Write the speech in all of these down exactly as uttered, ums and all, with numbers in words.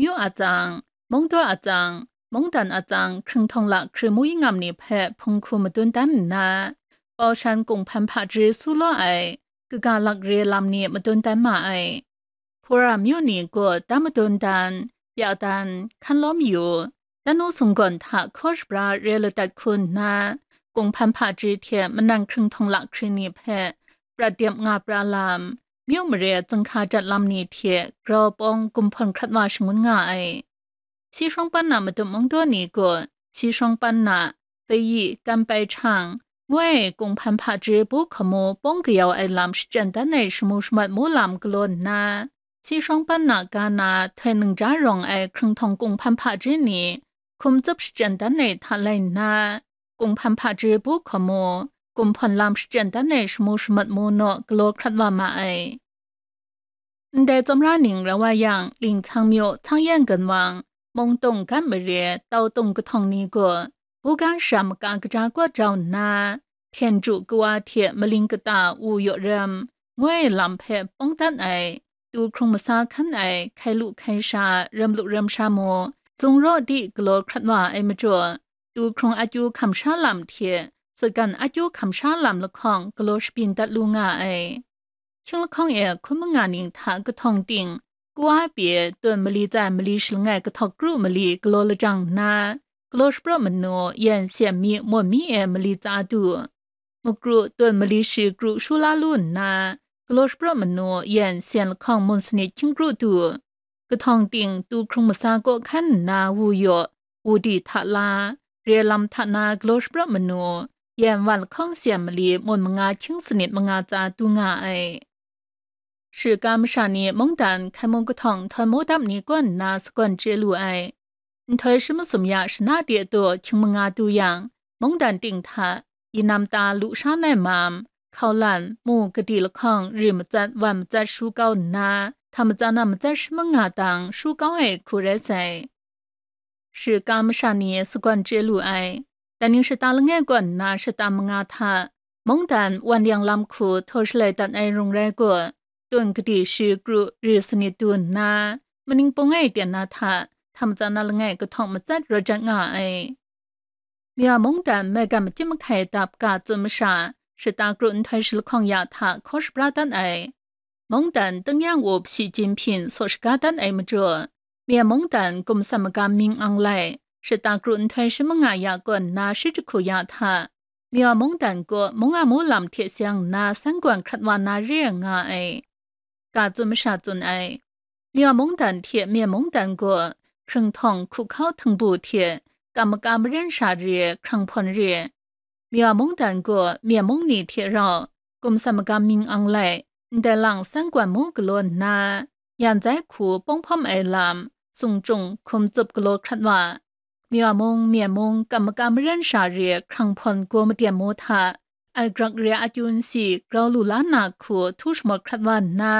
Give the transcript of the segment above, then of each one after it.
myu atsang, mungdaw atsang, mungdan atsang hkringhtawng lahkri mu yingam ni hpe hpung hku madun dan nna, Paushan kunghpan hpaji su law ai kaga lakre lam ni madun dan ma ai. Hpura myu ni gaw dan madun dan, pya dan, hkan lawm yu, dan nu sunggawn hta hkaw shabra re ladat hku nna, kunghpan hpaji hte manan hkringhtawng lahkri ni hpe prat dep nga pra lam, myu mare zunghka jat lam ni hte grau pawng gumhpawn hkrat wa shangun nga ai. Si shawng pan na matup mungdaw ni gaw, si shawng pan na, Fei Yi, Kan Pai Chang, ngu ai kunghpan hpaji bu hkamu pawng kayau ai lam shachyen dan ai shamu shamat mu lam galaw nna, si shawng pan na ga na htoi ningja rawng ai hkringhtawng kunghpan hpaji ni hkum tsup shachyen dan ai hta lai nna, kunghpan hpaji bu hkamu, gumhpawn lam shachyen dan ai shamu shamat mu naw galaw hkrat wa ma ai. Ndai tsawmra ning rau wa yang, Lingchang myu, Changyan Ganwang, Mungtung Gan Mare, Tautung kahtawng ni gaw, buga sha maka kaja kaw jau nna, hpyen ju kawa hte maling kata wu yaw rem, ngu ai lam hpe pawng dat ai, tu hkrung masa hkan ai, hkai lu hkai sha, rem lu rem sha mu, zung raw di galaw hkrat wa ai majaw, tu hkrung akyu hkam sha lam hte, sutgan akyu hkam sha lam lahkawng galaw shabyin dat lu nga ai. Hkying lahkawng e hkun manga ning hta kahtawng ting, kawa pyi tawn mali tsa mali shi langai kahtawk kru mali galaw lajang nna, galaw shapraw manu yan syen mi mawn mi e mali tsa du. Makru tawn mali shi kru shu la lu nna, galaw shapraw manu yan syen lahkawng mun sanit hkying kru du. Kahtawng ting tu hkrung masa kaw hkan nna wu yaw, wu di hta la, re lam hta na galaw shapraw manu, yan wan lahkawng syen mali mun manga hkying sanit manga tsa du nga ai. Shiga masha ni mungdan hkai mung kahtawng nhtawin mu dap ni kaw nna sagawn chye lu ai. Nhtoi shi masum ya shana de daw hkying manga du yang, mungdan ting hta, yi nam ta lu sha nai mam, hkaulan, mu kadi lahkawng ri matsat wan matsat shu kau nna, hta matsan a matsat shi manga dang shu kau ai hku rai sai. Shiga masha ni sagawn chye lu ai. Dai ning shata langai kaw nna shata manga hta, mungdan wan yang lam hku htaw shalai dat ai rung rai gaw, tun kadi shi kru ri sanit du nna, maning pung e tyen na hta, hta matsan a langai kahtawng matsat rawt jat nga ai. Mya mungdan maigan makyit mahkai dap ga tsun masha, shata kru nhtoi shi lahkawng ya hta hkaw shabra dat ai. Mungdan tingnyang up Xi Jinping saw shaga dat ai majaw, Myen mungdan gumsam magam mying ang lai, shata kru nhtoi shi manga ya kaw nna shi jahku ya hta, Myen mungdan gaw mung a mu lam hte seng nna san gawn hkrat wa na re ai nga ai. Ga tsun masha tsun ai. Myen mungdan hte Myen mungdan gaw hkringhtawng hku hkau htingbu hte kam maka maren sha re hkrang hpawn re. Myen mungdan gaw Myen mung ni hte rau gumsam magam mying ang lai, ndai lang san gawn mu galaw nna, nyan zai hku pawng hpawm ai lam, sung chyung hkum tsup galaw hkrat wa, Myen mung, Myen mung kam maka maren sha re hkrang hpawn gaw madyen mu hta, ai grak re akyu nsi grau lu la na hku htu shamawt hkrat wa nna,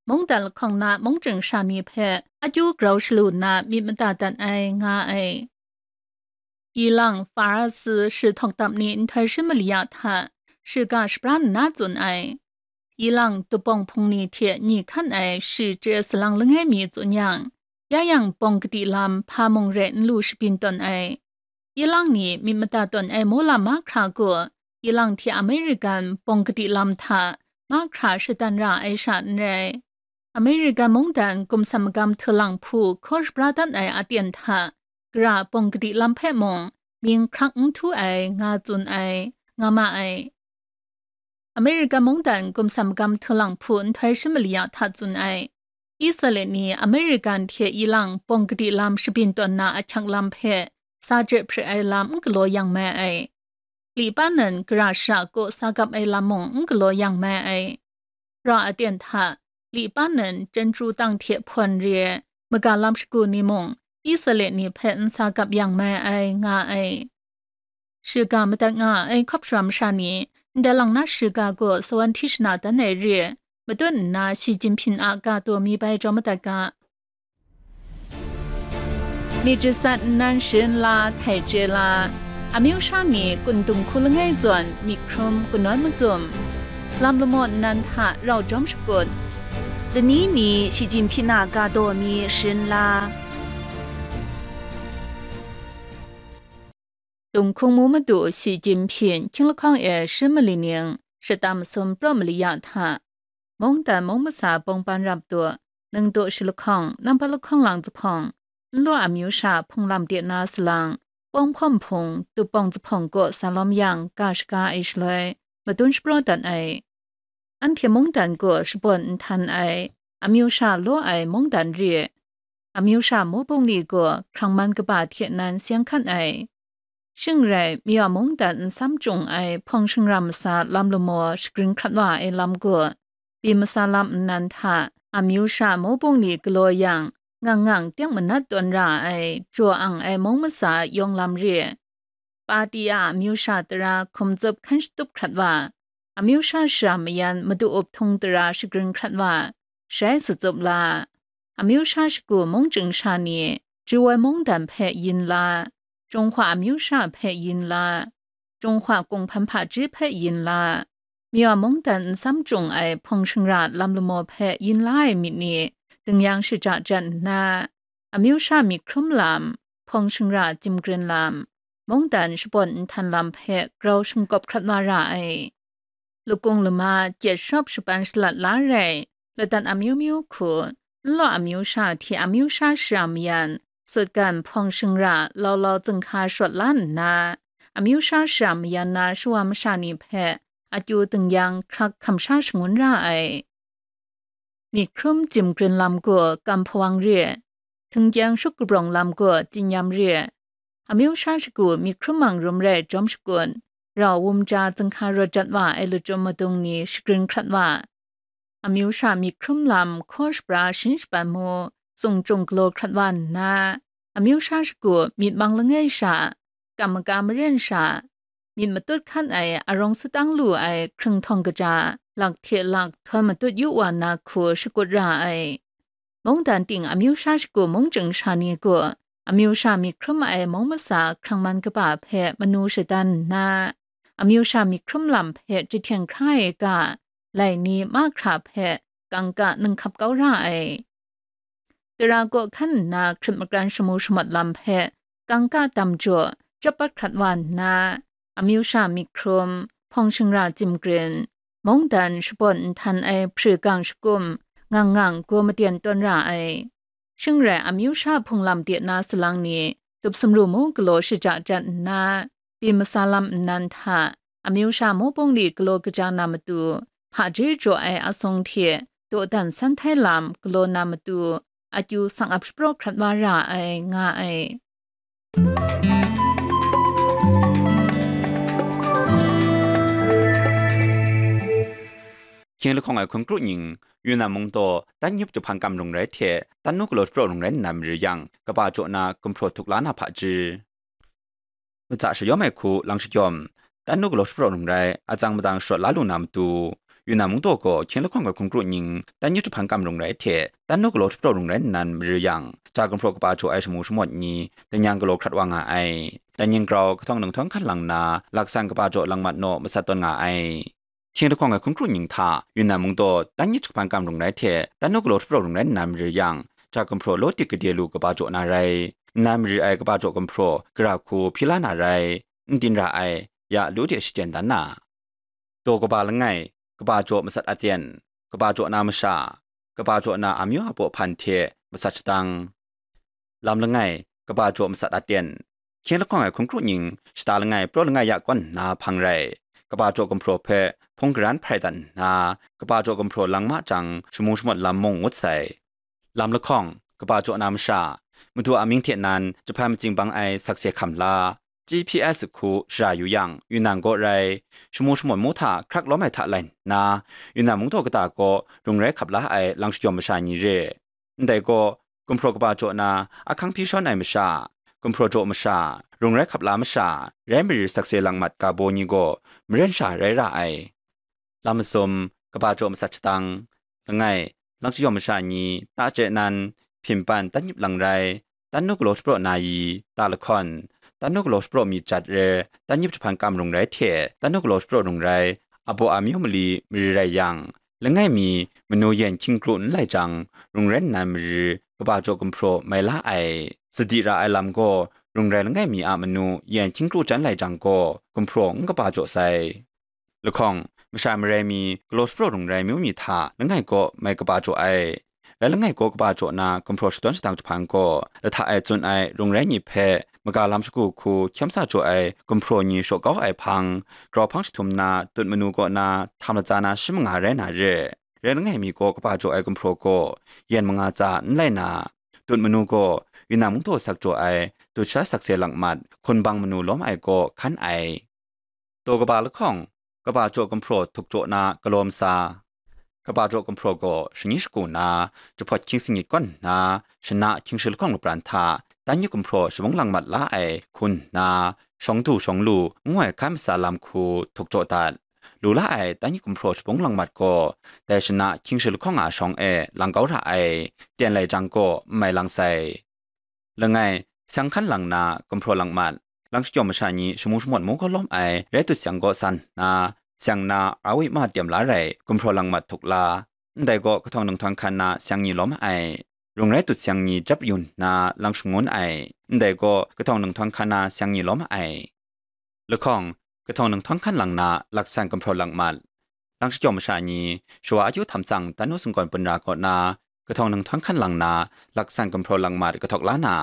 mungdan lahkawng na mung chying sha ni hpe akyu grau shalu nna myit mada dat ai nga ai. Ilang, Farasi shi htawk dap ni nhtoi shi mali ya hta, shiga shabra nna tsun ai. Ilang dupawng hpung ni hte ni hkan ai shi chye salang langai mi tsun yang, ya yang pawng kadi lam hpa mung rai n lu shabyin tawn ai. Ilang ni myit mada tawn ai mu lam mahkra gaw, ilang hte American pawng kadi lam hta mahkra shadan ra ai sha n rai. American mungdan gumsam magam htalang hpu hkaw shabra dat ai aten hta, gara pawng kadi lam hpe mung mying hkrak n htu ai nga tsun ai, nga ma ai. American mungdan gumsam magam htalang hpu nhtoi shi mali ya hta tsun ai. Israel ni American hte ilang pawng kadi lam shabyin tawn na ahkyak lam hpe sa je hpre ai lam n galaw yang mai ai. Li pa nan gara shara kaw sa gap ai lam mung n galaw yang mai ai. Ra aten hta, Li pa nan chyeju tang hte hpawn re, maga lam shagu ni mung, Israel ni hpe n sa gap yang mai ai nga ai. Shiga madat nga ai hkawp shara masha ni, ndai lang na shiga gaw sawan hti shana dan ai re, matut nna Xi Jinping a ga taw mi bai jaw madat ga. Myit jasat nnan sharin la, htai chye la, amyu sha ni kun dung hku langai zawn myit hkrum kanawn macum, lam lamaw nnan hta rau jawm shakut, lani mi Xi Jinping a ga taw mi sharin la, Tung hkungmu madu Shi Jinpying hkying lahkawng e shi mali ning shata masum praw mali ya hta, mungdan mung masa bawng ban rap tu, ningdu shi lahkawng, nampa lahkawng lang zuphpawng, nlaw amyu sha hpung lam de na salang, pawng hpawm hpung, tup pawng zuphpawng kaw sa lawm yang, ga shaga ai shaloi, madun shapraw dat ai. Anhte mungdan gaw shabawn nhtan ai, amyu sha law ai mungdan re, amyu sha mawbung ni gaw hkrang man kaba hte nan seng hkan ai. Shing rai, myu a mungdan nsam chyung ai hpawng shingra masa lam lamaw shagrin hkrat wa ai lam gaw, pyi masa lam nnan hta, amyu sha mawbung ni galaw yang, ngang ngang teng manat tawn ra ai, jaw ang ai mung masa yawng lam re. Pati a amyu sha tara hkum tsup hkan shatup hkrat wa, amyu sha shara mayan madu up htung tara shagrin hkrat wa, shai sa tsup la. Amyu sha shagu mung chying sha ni, Jawai mungdan hpe yin la, Jinghwa amyu sha hpe yin la, Jinghwa kunghpan hpaji hpe yin la, myu a mungdan nsam chyung ai hpawng shingra lam lamaw hpe yin la ai myit ni, dingyang shaja jan nna, amyu sha myit hkrum lam, hpawng shingra jim grin lam, mungdan shabawn nhtan lam hpe grau shingkawp hkrat wa ra ai. Lakung lama gyet shawp shapan shalat la rai, ladat amyu myu hku, nlaw amyu sha hte amyu sha shara mayan, sutgan hpawng shingra lau lau zinghka shawt la nna, amyu sha shara mayan na shawa masha ni hpe akyu dingyang hkrak hkam sha shangun ra ai. Myit hkrum jim grin lam gaw kam hpawang re, htingkyang shup kabrawng lam gaw tsinyam re, amyu sha shagu myit hkrum mang rum rai jawm shakut, rau wum ja zinghka rawt jat wa ai lachyum madung ni shagrin hkrat wa, amyu sha myit hkrum lam hkaw shapra shin shapan mu, tsung chyung galaw hkrat wa nna, amyu sha shagu myit mang langai sha, kam maka maren sha, myit matut hkan ai arawng satang lu ai hkringhtawng kaja, lak hte lak htawn matut yu wa na hku shakut ra ai. Mungdan ting amyu sha shagu mung chying sha ni gaw, amyu sha myit hkrum ai mung masa hkrang man kaba hpe manu shadan nna, amyu sha myit hkrum lam hpe jahten hkra ai ga, lai ni mahkra hpe kangka ninghkap kau ra ai. Tara kaw hkan nna hkrit makran shamu shamawt lam hpe kangka dam jaw, chyap pat hkrat wa nna, amyu sha myit hkrum, hpawng shingra jim grin, mungdan shabawn nhtan ai hpri gang shakum, ngang ngang gaw maten tawn ra ai. Shing rai amyu sha hpung lam de na salang ni, tup sumru mu galaw shaja jan nna, pyi masa lam nnan hta, amyu sha mawbung ni galaw kaja na matu, hpaji jaw ai asung hte dawdan san htai lam galaw na matu, akyu sang ap shapraw hkrat wa ra ai, nga ai. Hkying lahkawng ai hkun kru ning, Yunnan mung taw, Tanyip Jahpan Kam Rung Rai hte, Tanu Galaw Shapraw Rung Rai nnan mare yang, kaba jaw na gumhpraw htuk la na hpaji. Matsa shayawm ai hku lang shajawm, Tanu Galaw Shapraw Rung Rai, atsang madang sharawt la lu na matu, Yunnan mung taw gaw hkying lahkawng ai hkun kru ning, Tanyip Jahpan Kam Rung Rai hte, Tanu Galaw Shapraw Rung Rai nnan mare yang, ja gumhpraw kaba jaw ai shamu shamawt ni, danyang galaw hkrat wa nga ai. Danying grau kahtawng nang htawng hkan lang nna, laksan kaba jaw lang mat naw masat tawn nga ai. Hkying lahkawng ai hkun kru ning hta, Yunnan mung taw, Tanyip Jahpan Kam Rung Rai hte, Tanu Galaw Shapraw Rung Rai nnan mare yang, ja gumhpraw law dik gade lu kaba jaw na rai. Nnan mare ai kaba jaw gumhpraw, gara hku hpyi la na rai. N tin ra ai, ya lu de shachyen dan na. Daw kaba langai, kaba jaw masat aten, kaba jaw na masha, kaba jaw na amyu a baw hpan hte masat shadang. Lam langai, kaba jaw masat aten. Hkying lahkawng ai hkun kru ning, shata langai, praw langai ya kawn nna hpang rai. Kaba jaw gumhpraw hpe hpung garan hprai dat nna, kaba jaw gumhpraw lang ma jang, shamu shamawt lam mung ngut sai. Lam lahkawng, kaba jaw na masha, madu a mying hte nan jahpan matsing bang ai sakse hkam la, G P S hku shara yu yang, Yunnan gaw rai, shamu shamawt mu hta hkrak lawm ai hta lai nna, Yunnan mung taw kata gaw rung rai hkap la ai lang shajawm masha ni re. Ndai gaw, gumhpraw kaba jaw na ahkang hpyi shawn ai masha, gumhpraw jaw masha, rung rai hkap la masha, rai mare sakse lang mat ga baw ni gaw maren sha rai ra ai. Lam masum, kaba jaw masat shadang, langai, lang shajawm masha ni, ta chye nan, hpyin pan Tanyip lang rai, Tanu Galaw Shapraw na yi, ta lahkawn, Tanu Galaw Shapraw myit jat re, Tanyip Jahpan Kam Rung Rai hte, Tanu Galaw Shapraw Rung Rai, a baw amyu mali mari rai yang, langai mi, manu yen hkying kru n lai jang, rung rai nnan mari, kaba jaw gumhpraw mai la ai. Sadi ra ai lam gaw, rung rai langai mi a manu yen hkying kru chyan lai jang gaw, gumhpraw n kaba jaw sai. Lahkawng, masha marai mi, galaw shapraw rung rai myu mi hta langai kaw mai kaba jaw ai. Rai langai kaw kaba jaw na gumhpraw shadawn shadang jahpan gaw, lahta e tsun ai rung rai ni hpe maga lam shagu hku hkyem sa jaw ai gumhpraw ni shaw kau ai hpang, grau hpang jahtum na tut manu kaw na htam latsa na shi manga rai na re. Rai langai mi kaw kaba jaw ai gumhpraw gaw yen manga tsa n lai na, tut manu gaw Yunnan mungdaw sak jaw ai dut sha sakse lakmat hkunbang manu lawm ai kaw hkan ai. Daw kaba lahkawng, kaba jaw gumhpraw htuk jaw na galaw masa. Kaba jaw gumhpraw gaw shani shagu na, jahpawt hkying singit kawn nna, shana hkying shi lahkawng lapran hta, dan yip gumhpraw shabung lang mat la ai hku nna, shawng du shawng lu ngu ai hkan masa lam hku htuk jaw dat. Lu la ai dan yip gumhpraw shabung lang mat gaw, dai shana hkying shi lahkawng a shawng e lang kau ra ai, ten lai jang gaw n mai lang sai. Langai, seng hkan lang na gumhpraw lang mat, lang shajawm masha ni shamu shamawt mu gaw lawm ai rai dut seng kaw san nna, seng na awi ma tiem la rai gumhpraw lang mat htuk la, ndai gaw kahtawng nang htawng hkan na seng ni lawm ai, rung rai dut seng ni jap yu nna lang shangun ai, ndai gaw kahtawng nang htawng hkan na seng ni lawm ai. Lahkawng, kahtawng nang htawng hkan lang na laksan gumhpraw lang mat, lang shajawm masha ni, shawa akyu htam tsang dan nu singgawn punra kaw na, kahtawng nang htawng hkan lang na, laksan gumhpraw lang mat kahtawk la na,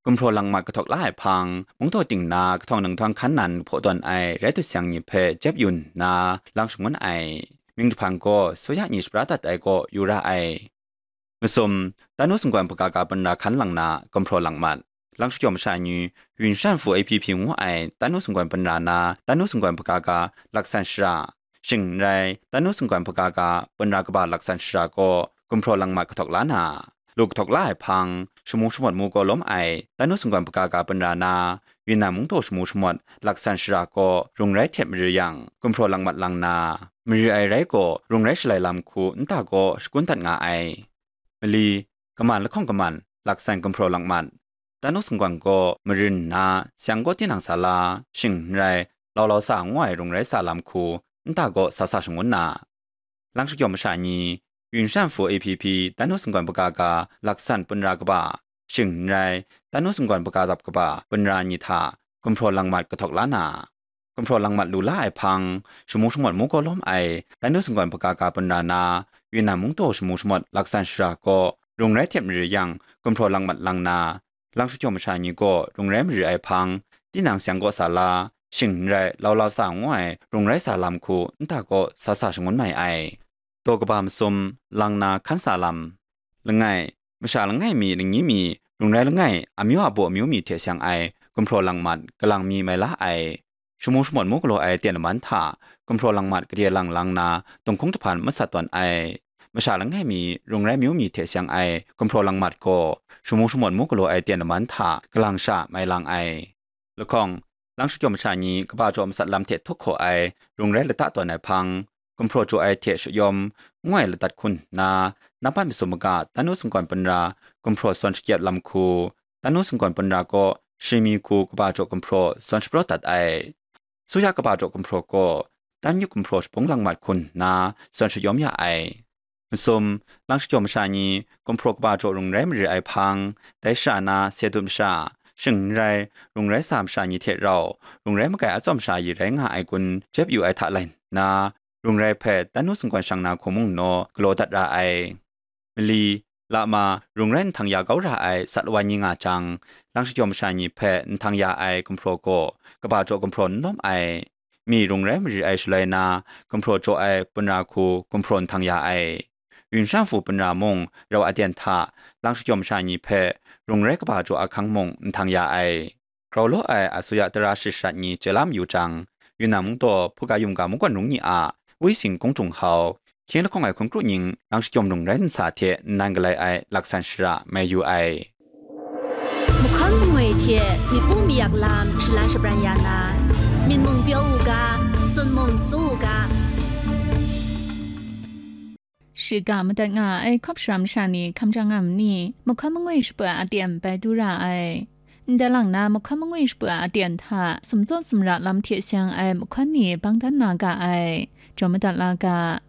gumhpraw lang mat kahtawk la ai hpang, mungdaw ting na kahtawng nang htawng hkan nan hpaw tawn ai rai dut seng ni hpe jep yu nna, lang shangun ai. Mying jahpan gaw, suya ni shapra dat ai kaw yu ra ai. Masum, dan nu singgawn hpaga ga punra hkan lang na, gumhpraw lang mat. Lang shajawm masha ni, Yun Shan Fu A P P ngu ai dan nu singgawn punra na, dan nu singgawn hpaga ga laksan shara, shing n rai, dan nu singgawn hpaga ga punra kaba laksan shara gaw gumhpraw lang mat kahtawk la na, lu kahtawk la ai hpang, shamu shamawt mu gaw lawm ai dan nu singgawn hpaga ga punra na, Yunnan mungdaw shamu shamawt laksan shara gaw rung rai hte mari yang, gumhpraw lang mat lang na, mari ai rai gaw rung rai shalai lam hku nta gaw shakun dat nga ai. Mali, kaman lahkawng kaman, laksan gumhpraw lang mat. Dan nu singgawn gaw marin nna, seng gaw tinang sa la, shing n rai, lau lau sa ngu ai rung rai sa lam hku, nta gaw sa sa shangun na. Lang shajawm masha ni, Yun Shan Fu A P P dan nu singgawn hpaga ga laksan punra kaba, shing n rai, dan nu singgawn hpaga dap kaba punra ni hta gumhpraw lang mat kahtawk la na, gumhpraw lang mat lu la ai hpang, shamu shamawt mu gaw lawm ai dan nu singgawn hpaga ga punra na, Yunnan mungdaw shamu shamawt laksan shara gaw rung rai hte mari yang, gumhpraw lang mat lang na, lang shajawm masha ni gaw rung rai mari ai hpang, tinang seng kaw sa la, shing n rai, lau lau sa ngu ai rung rai sa lam hku nta gaw sa sa shangun mai ai. Daw kaba masum, lang na hkan sa lam. Langai, masha langai mi, lani mi, rung rai langai, amyu a baw amyu mi hte seng ai gumhpraw lang mat, kalang mi mai la ai. Shamu shamawt mu galaw ai ten laman hta, gumhpraw lang mat gade lang lang na, dunghkung jahpan masat tawn ai. Masha langai mi, rung rai amyu mi hte seng ai gumhpraw lang mat gaw, shamu shamawt mu galaw ai ten laman hta, kalang sha mai lang ai. Lahkawng, lang shajawm masha ni kaba jaw masat lam hte htuk hkaw ai rung rai lata tawn ai hpang, gumhpraw jaw ai hte shayawm, ngu ai ladat hku nna, nampat masum maga dan nu singgawn punra gumhpraw sawn shakyep lam hku, dan nu singgawn punra gaw shimi hku kaba jaw gumhpraw sawn shapraw dat ai. Suya kaba jaw gumhpraw gaw dan yip gumhpraw shabung lang mat hku nna sawn shayawm ya ai. Masum, lang shajawm masha ni, gumhpraw kaba jaw rung rai mari ai hpang, dai shara na se dut masha, shing n rai, rung rai sa masha ni hte rau, rung rai magai atsawm sha yi rai nga ai gun jep yu ai hta lai nna, rung rai hpe dan nu singgawn shang na hku mung naw galaw dat ra ai. Mali, lama, rung rai nhtang ya kau ra ai sat wa ni nga jang, lang shajawm masha ni hpe nhtang ya ai gumhpraw gaw, kaba jaw gumhpraw n lawm ai. Mi rung rai mari ai shaloi na, gumhpraw jaw ai punra hku gumhpraw nhtang ya ai. Yun shan fu punra mung rau aten hta, lang shajawm masha ni hpe rung rai kaba jaw ahkang mung nhtang ya ai. Grau law ai asuya tara shit sharat ni chye la mayu jang, Yunnan mungdaw hpuga yum ga mungkawn rung ni a, Wi Sing Kung Jung Hau, hkying lahkawng ai hkun kru ning lang shajawm rung rai nsa hte nnan galai ai laksan shara mai yu ai. Mahkawn mangwi hte myit pu mayak lam shalan shabran ya na, myit mung pyaw u ga, sun mung su u ga. Shiga madat nga ai hkawp shara masha ni hkam jang nga ma ni? Mahkawn mangwi shapra aten bai du ra ai. Ndai lang na mahkawn mangwi shapra aten hta sumtsaw sumra lam hte seng ai mahkawn ni bang dan na ga ai. Jaw madat la ga.